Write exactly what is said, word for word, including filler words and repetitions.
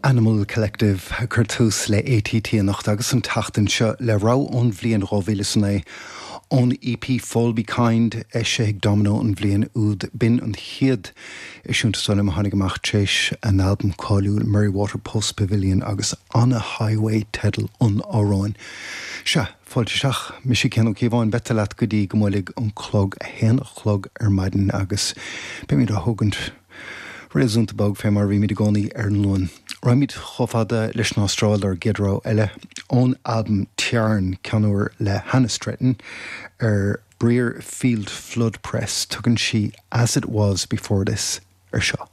Animal Collective ag cur tús le ATT anocht agus an tseachtain seo le rogha ón bhliain dhá mhíle is a naoi ón EP Fall Be Kind eisithe ag Domino an bhliain úd b'in an chéad eisiúint is dóigh liom a tháinig amach tar éis a n-albam cáiliúil Merriwater Post Pavilion agus On a Highway teideal an amhráin. Sea, fáilte isteach, mise Cian Ó Cíobháin, beidh leat go dtí go mbuailfidh an clog a haon a chlog ar maidin agus beimid á thógaint réasúnta bog fé mar a bhímid i gcónaí ar an Luan. Raghaimid chomh fada leis an Astráil dár gcéad rogha eile ón albam Tiarn ceann úr le Hannah Stretton ar Brierfield Flood Press tugann sí As It Was Before This ar seo.